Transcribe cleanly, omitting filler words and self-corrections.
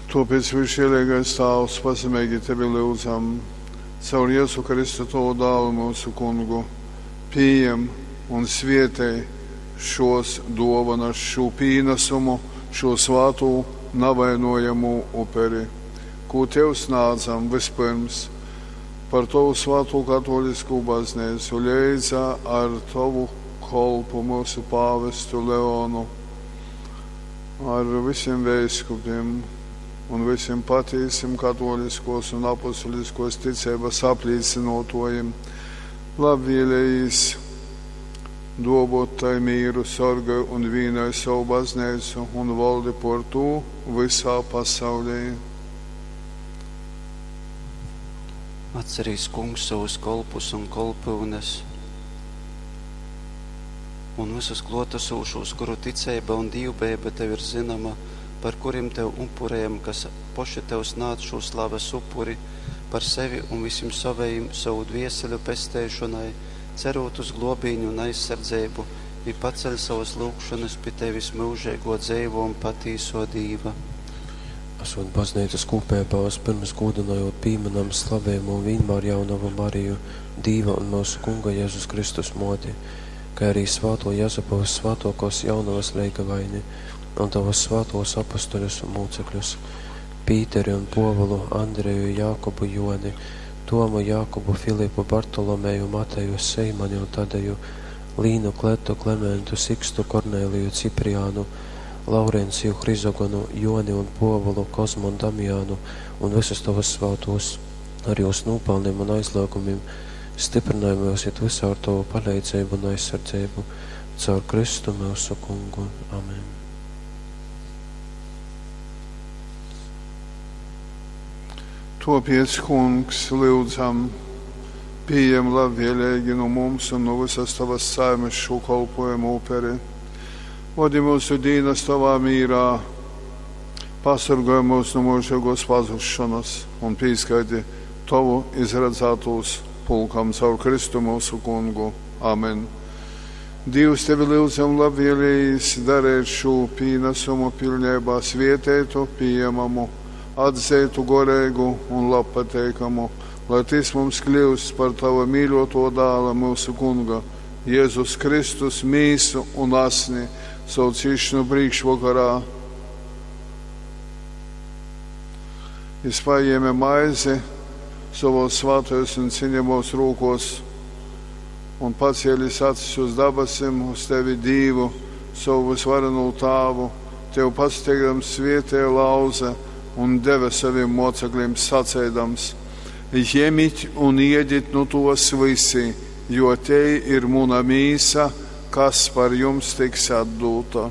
Tōpēc, Vyssžieleigais Tāvs, pazemeigi Tevi lyudzam, caur Jezu Kristu Tovu Dālu, myusu Kungu, pījem un svietej šōs dōvonas, šū pīnasumu, šū svātū navainojamū uperi, kū Tev snādzam vyspyrms par Tovu svātū katōliskū Bazneicu leidza ar Tovu kolpu myusu pāvestu Leonu, ar vysim veiskupim un vysim patīsim katōliskōs un apostuliskōs ticeibas aplīcynōtōjim. Labvēlējīs duovōt tai mīru, sorgoj un vīnoj sovu bazneicu un valdi pōr tū vysā pasaulī. Atcerīs, Kungs, sovus kolpus un kolpyunes un vysus klōtasūšūs, kuru ticeiba un dīvbejeiba Tev ir zynoma, par kurim Tev upurejam, kas poši Tev snādz šū slaves upuri, par sevi un vysim sovejim sovu dvieseļu pesteišonai, cerūt uz glōbīni un aizsardzeibu, i paceļ sovas lyugšonas pi Tevis, myužeigō, dzeivō un patīsō Dīva. Asūt bazneicas kūpeibā, vyspyrms gūdynojūt pīmynam slavejamū Vīnmārjaunovu Mariju, Dīva un myusu Kunga Jezus Kristus Mōti, kai arī svātō Jezupa vyssvātōkōs jaunovas leigavaini un tovus svātūs apostoļus un mūcekļus, Pīteri un Pōvulu, Andreju, Jākubu, Jōni, Tomu, Jākubu, Filipu, Bartolomeju, Mateju, Seimani un Tadeju, Līnu, Kletu, Klementu, Sikstu, Korneliju, Cipriānu, Laurenciju, Hrizogonu, Joni un Pōvulu, Kozmu un Damiānu un visus tovus svātūs ar jūs nūpalnim un aizliegumim, stiprynoj myus it vysā ar tovu paleidzeibu un aizsardzeibu. Caur Kristu myusu Kungu. Amen. Tōpēc, Kungs, lyudzam, pījem labvēleigi nu mums un nu visas Tavas saimes šū kolpojumu uperi. Vodi myusu dīnas Tovā mīrā, pasorgoj mūs nu myužeigōs pazušonas un pīskaiti Tovu izradzātūs pulkam caur Kristu myusu Kungu. Amen. Dīvs tevi lyudzam labvēlējīs darēt šū pīnesumu pilneibā svieteitu, pīejamamu, atzeitu goreigu un labpateikamu, lai tys mums kļūst par tava mīļoto dāla myusu Kunga, Jēzus Kristus mīsu un asni, savu cīšanu priekšvakarā. Jis paņēma maizi savos svētajos un cienījamos rūkos un pacēlis acis uz dabasim, uz tevi Dīvu, savu visvarenū tāvu, tev pasteigdams svietēja lauze un deva saviem mocekļiem sacēdams: Ņemit un iedit nu tos visi, jo te ir muna mīsa, kas par jums tiks atdūta.